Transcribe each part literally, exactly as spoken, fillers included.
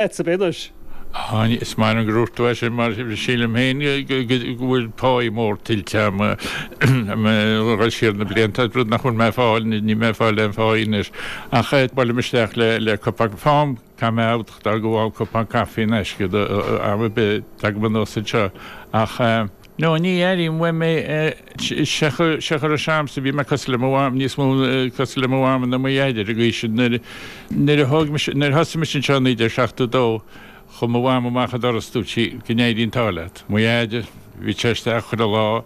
Agatsa anois. Is maith liom gur dhúirt tú é sin mar sílim féin go bhfuil páí mór tuillte agam ag dul siar na blianta, rud nach bhfuil mé ag fáil, níl mé ag fáil aon pháí anois. Ach buailim isteach le le cupán, fághaim, caithfidh mé a admháil go bhfaighim cupán caife in aisce am ar bith a dtagaim anuas anseo ach no ní airím uaim é sé a raibh sé a'msa bhí mé cosúil le mo mham, níos mó cosúil le mo mham ná mo dhaid ar an gcaoi sin nuair nuair a thóg mise nuair a thosaigh mise anseo i naoi déag seachtó dó chuaigh mo mham amach an doras dúirt sí go n-éirí an t-ádh leat. Mo dhaid bhí sé isteach chuile lá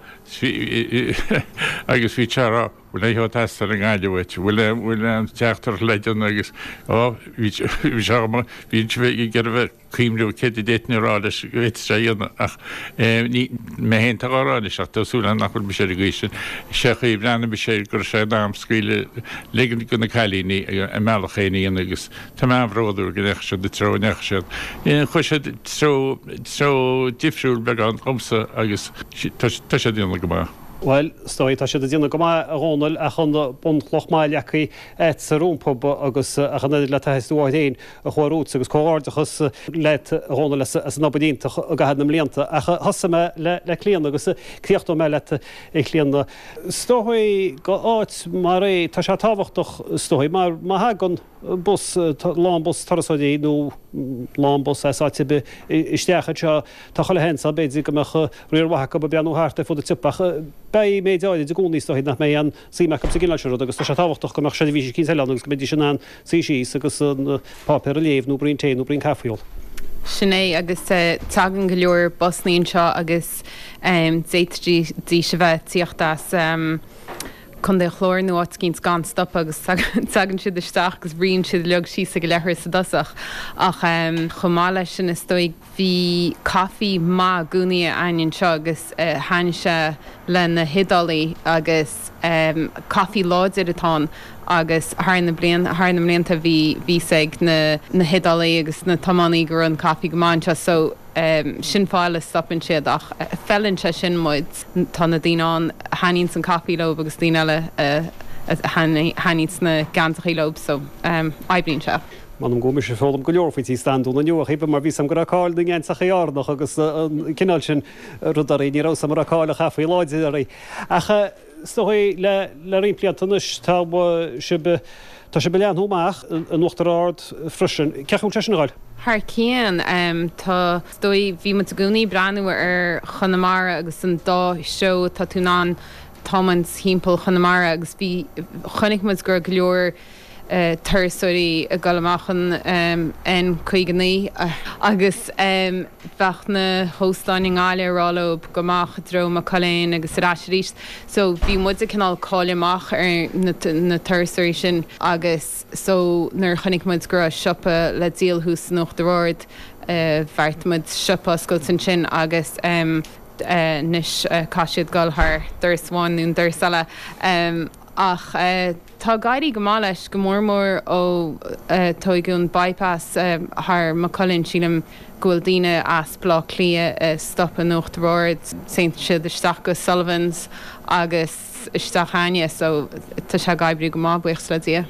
agus bhí sé a rá bhfuil aon cheo ag teastáil i nGaillimh uait, bhfuil bhfuil aon teachtaireacht le déanamh agus ó bhí bhí sé bhí sé ag iarraidh bheith cuimhniú céard a d'fhéadfainn a rá leis go bhféadfadh sé a dhéanamh ach ní mé féin atá á rá anois ach tá súil agam nach bhfuil mise ar an gcaoi sin. Sé an chaoi a bhreathnaigh mise air go raibh sé in am scaoileadh ligean do na cailíní a mbealach féin a dhéanamh agus tá mé an-bhródúil go ndeachaigh siad an treo a ndeachaigh siad. Chuaigh siad treo treo difriúil beagán dhomsa agus tá siad ag déanamh go maith. Bhuel, is dóigh, tá siad ag déanamh go maith, a Dhónaill, ach an bunchloch maith leagtha agatsa rompu agus ach an oiread le taithí do mháthair féin a chuaigh romhat agus comhghairdeachas leat, a Dhónaill, as an obair iontach i gcaitheamh na mblianta. Ach thosaigh mé le Clíona agus críochnóidh mé leat, a Chlíona. Is dóigh go áit mar é, tá sé tábhachtach, is dóigh, mar má thagann bus, lán bus turasóirí nó lán bus as áit ar bith isteach anseo, tá chuile sheans ann b'fhéidir go mbeadh riar mhaith acu ag breathnú thart ar fud an tsiopa ach beidh méid áirid i gcónaí is dóigh nach mbeidh aon suim acu sa gcineál sin ruda agus tá sé tábhachtach go mbeadh seirbhís eicínt eile ann agus go mbeidís in ann suí síos agus an páipéar a léamh nó braon tae nó braon caife a ól. Sin é agus tagann go leor busannaí anseo agus d'fhéadfaidís a bheith ag tíocht as Contae an Chláir nó áit eicínt gan stopadh agus tagann siad isteach agus ritheann siad uilig síos ag an leithreas i dtosach. Ach chomh maith leis sin is dóigh bhí caife maith i gcónaí againn anseo agus thaitnigh sé le na hIodálaigh agus caife láidir atá ann agus thar na blianta thar na mblianta bhí bhí fhios ag na na hIodálaigh agus na tiománaí go raibh an caife go maith anseo so Sin fáth eile a stopann siad ach feileann sé sin muid. Tá na daoine ann a thaitníonns an caife leo agus daoine eile a thaitníonns na geansachaí leo so oibríonn sé. M'anam go bhfuil mise ag foghlaim go leor faoi Tí Standún inniu, a Chaoimhe, mar bhí 's a'm go raibh cáil na ngeansachaí Árannach agus an cineál sin ruda uirthi. Ní raibh 's a'm go raibh cáil an chaife láidir uirthi. Ach is dóigh le roinnt blianta anois tá sibh Tá sibh ag leathnú amach in Uachtar Ard freisin. Cén chaoi a bhfuil sé sin ag dul? Thar cionn. Tá, is dóigh, bhí muid i gcónaí ag breathnú ar Chonamara agus an dá threo atá tú in ann tiomáint thimpeall Chonamara agus bhí, chonaic muid go raibh go leor turasóirí ag dul amach an N caoga naoi agus bheadh na hóstáin i nGaillimh ag rá leo gabh amach i dtreo Maigh Cuilinn agus ar ais arís. So bhí muid ag cineál cailleadh amach ar na turasóirí sin agus so nuair a chonaic muid go raibh siopa le díol thuas in Uachtar Ard bheartaigh muid siopa a oscailt ansin agus anois caithfidh siad dul thar doras amháin nó an doras eile ach tá ag éirí go maith leis, go mór mór ó tóigeadh an bypass thar Maigh Cuilinn sílim go bhfuil daoine as Baile Átha Cliath ag stopadh in Uachtar Ard, téann siad isteach go Sullivan's agus isteach chugainne so tá sé ag oibriú go maith, buíochas le Dia.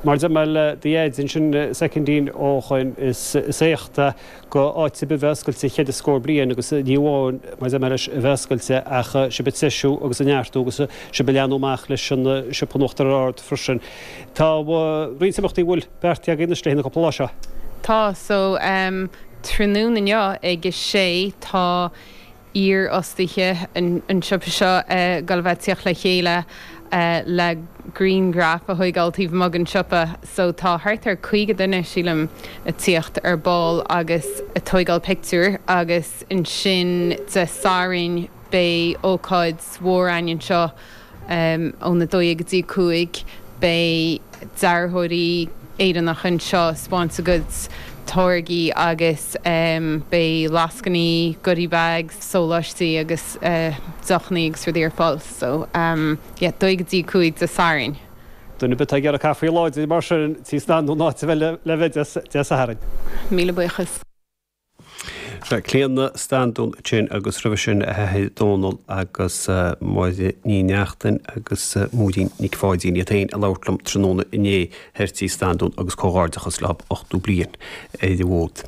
Mar a deir mé le do dhaid ansin soicindín ó shoin, is éacht é go áit ar bith bheith oscailte cheithre scór bliain agus ní amháin, mar a deir mé leis, a bheith oscailte ach sibh ag treisiú agus ag neartú agus sibh ag leathnú amach leis an siopa in Uachtar Ard freisin. Tá roinnt imeachtaí a bhfuil beartaithe agaibh anois le haghaidh na cúpla lá seo. Tá, so tráthnóna inniu ag a sé tá iarfhostaithe an tsiopa seo ag dul a bheith ag tíocht le chéile le grianghraif a thóigeáil taobh amuigh den siopa. So tá thart ar caoga duine, sílim, ag tíocht ar ball agus ag tóigeáil pictiúr agus ansin Dé Sathairn beidh ócáid mhór againn anseo Óna dó dhéag go dtí a cúig beidh dearthóirí Éireannacha anseo ag 'spáint a gcuid táirgí agus beidh lascainí, goodie bags, sóláistí agus deochannaí agus rudaí ar fáil. So yeah, dó dhéag go dtí a cúig Dé Sathairn. Duine ar bith atá ag iarraidh caife láidir mar sin, Tí Standún an áit le bheith Dé Sathairn. Míle buíochas. Clíona Standún sin agus roimhe sin a hathair Dónal agus Máire Ní Neachtain agus Máirín Nic Pháidín iad féin a labhairt liom tráthnóna inné thoir Tigh Standún agus comhghairdeachas leo ochtó bliain ar an bhfód.